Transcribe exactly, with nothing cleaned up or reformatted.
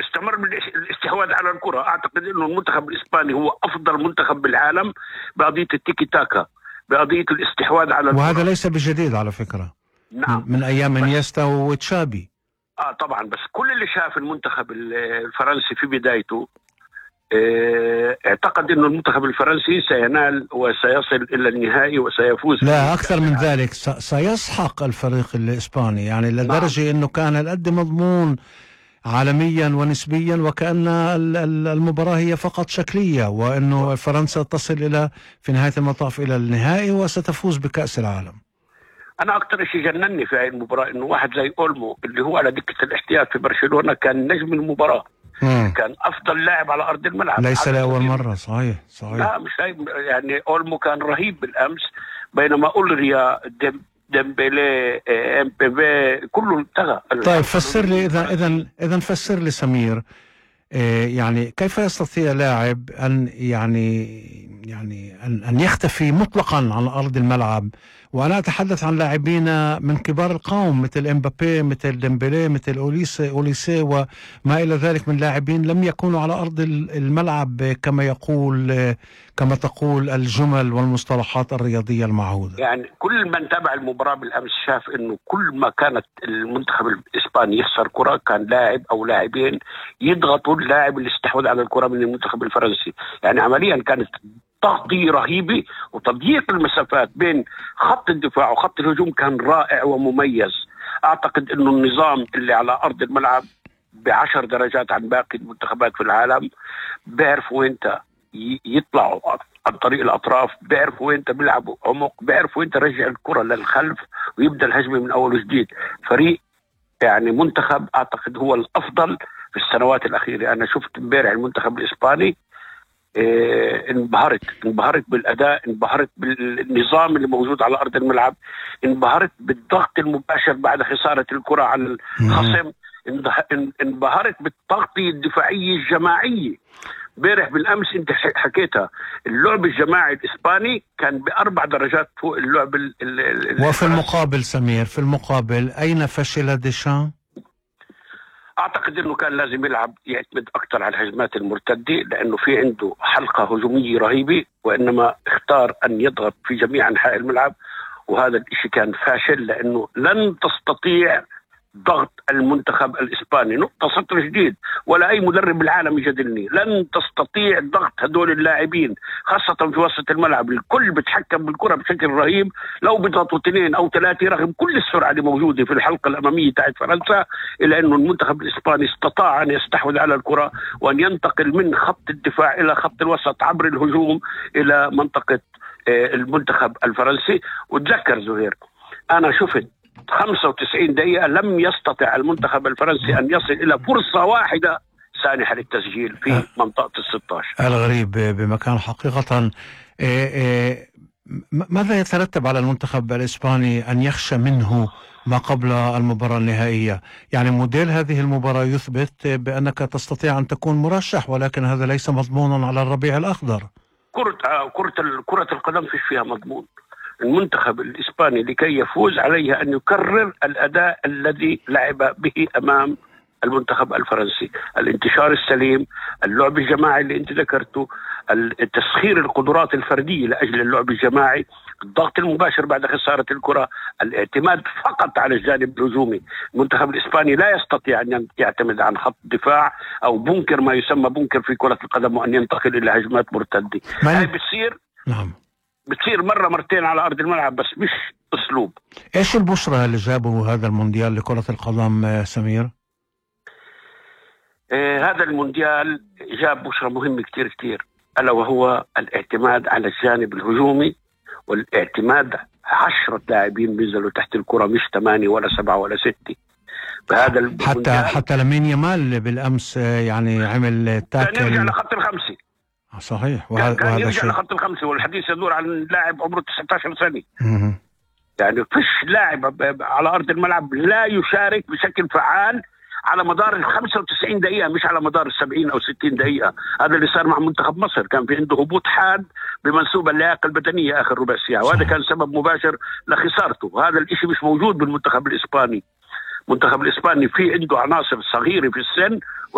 استمر استمر بالاستحواذ على الكرة. أعتقد إنه المنتخب الإسباني هو أفضل منتخب بالعالم بقضية التيكي تاكا، بقضية الاستحواذ على الكرة. وهذا ليس بجديد على فكرة. نعم. من أيام انيستا وتشابي. آه طبعا، بس كل اللي شاف المنتخب الفرنسي في بدايته اه اعتقد إنه المنتخب الفرنسي سينال وسيصل إلى النهائي وسيفوز. لا، أكثر من ذلك، سيسحق الفريق الإسباني، يعني لدرجة نعم. إنه كان القد مضمون عالميا ونسبيا، وكأن المباراة هي فقط شكلية، وأنه فرنسا تصل إلى في نهاية المطاف إلى النهائي وستفوز بكأس العالم. أنا أكثر شيء جنني في هذه المباراة إنه واحد زي أولمو اللي هو على دكة الاحتياط في برشلونة كان نجم المباراة. مم. كان أفضل لاعب على أرض الملعب، ليس لأول مرة. صحيح صحيح. لا مش يعني أولمو كان رهيب بالأمس، بينما أولريا ديم ديمبلي ام بي في كله انتهى. طيب فسر لي اذا اذا اذا فسر لي سمير، إيه يعني كيف يستطيع لاعب ان يعني يعني ان ان يختفي مطلقا عن ارض الملعب؟ وانا اتحدث عن لاعبين من كبار القوم مثل امبابي، مثل ديمبلي، مثل اوليسي اوليسي وما الى ذلك من لاعبين لم يكونوا على ارض الملعب كما يقول كما تقول الجمل والمصطلحات الرياضيه المعهوده. يعني كل من تابع المباراه بالامس شاف انه كل ما كانت المنتخب الاسباني يخسر كره كان لاعب او لاعبين يضغطوا اللاعب اللي استحوذ على الكره من المنتخب الفرنسي. يعني عمليا كانت تغطية رهيبة وتضييق المسافات بين خط الدفاع وخط الهجوم كان رائع ومميز. أعتقد أنه النظام اللي على أرض الملعب بعشر درجات عن باقي المنتخبات في العالم، بيعرف وين يطلعوا عن طريق الأطراف، بيعرف وين بيلعبوا عمق، بيعرف وين رجع الكرة للخلف ويبدأ الهجمة من أول وجديد. فريق يعني منتخب أعتقد هو الأفضل في السنوات الأخيرة. أنا شفت امبارح المنتخب الإسباني، إيه انبهرت انبهرت بالأداء، انبهرت بالنظام اللي موجود على أرض الملعب، انبهرت بالضغط المباشر بعد خسارة الكرة على الخصم، انبهرت بالتغطية الدفاعية الجماعية. امبارح بالأمس انت حكيتها، اللعب الجماعي الإسباني كان بأربع درجات فوق اللعب ال ال وفي المقابل سمير، في المقابل أين فشل ديشان؟ أعتقد أنه كان لازم يلعب يعتمد أكثر على الهجمات المرتدة، لأنه في عنده حلقة هجومية رهيبة، وإنما اختار أن يضغط في جميع أنحاء الملعب، وهذا الشيء كان فاشل، لأنه لن تستطيع ضغط المنتخب الإسباني. نقطة سطر جديد، ولا أي مدرب بالعالم يجادلني، لن تستطيع ضغط هدول اللاعبين خاصة في وسط الملعب. الكل بتحكم بالكرة بشكل رهيب، لو بيضغطوا اثنين أو ثلاثة رغم كل السرعة اللي موجودة في الحلقة الأمامية تاعت فرنسا، إلا أنه المنتخب الإسباني استطاع أن يستحوذ على الكرة وأن ينتقل من خط الدفاع إلى خط الوسط عبر الهجوم إلى منطقة المنتخب الفرنسي. وتذكر زهير، أنا شفت خمسة وتسعين دقيقة لم يستطع المنتخب الفرنسي أن يصل إلى فرصة واحدة سانحة للتسجيل في منطقة الستة عشر. الغريب بمكان حقيقة. إيه إيه ماذا يترتب على المنتخب الإسباني أن يخشى منه ما قبل المباراة النهائية؟ يعني موديل هذه المباراة يثبت بأنك تستطيع أن تكون مرشح، ولكن هذا ليس مضمونا على الربيع الأخضر. كرة كرة كرة القدم فيش فيها مضمون. المنتخب الإسباني لكي يفوز عليه أن يكرر الأداء الذي لعب به أمام المنتخب الفرنسي، الانتشار السليم، اللعب الجماعي اللي انت ذكرته، التسخير القدرات الفردية لأجل اللعب الجماعي، الضغط المباشر بعد خسارة الكرة، الاعتماد فقط على الجانب الهجومي. المنتخب الإسباني لا يستطيع أن يعتمد عن خط دفاع أو بنكر، ما يسمى بنكر في كرة القدم، وأن ينتقل إلى هجمات مرتدة. هاي بتصير نعم بتصير مرة مرتين على أرض الملعب، بس مش أسلوب. إيش البشرة اللي جابه هذا المونديال لكرة القدم سمير؟ آه هذا المونديال جاب بشرة مهمة كتير كتير، ألا وهو الاعتماد على الجانب الهجومي، والاعتماد عشرة لاعبين بينزلوا تحت الكرة، مش ثمانية ولا سبعة ولا ستة. بهذا حتى حتى لامين يامال بالأمس يعني عمل تاكل، كان يرجع لخط الخمسة. صحيح، وهذا كان يرجع لخط الخمسة، والحديث يدور عن لاعب عمره تسعة عشر سنة. مه. يعني فيش لاعب على أرض الملعب لا يشارك بشكل فعال على مدار ال خمسة وتسعين دقيقة، مش على مدار السبعين أو ستين دقيقة. هذا اللي صار مع منتخب مصر، كان في عنده هبوط حاد بمنسوب اللياقة البدنية آخر ربع ساعة، وهذا كان سبب مباشر لخسارته. هذا الإشي مش موجود بالمنتخب الإسباني. المنتخب الإسباني في عنده عناصر صغيرة في السن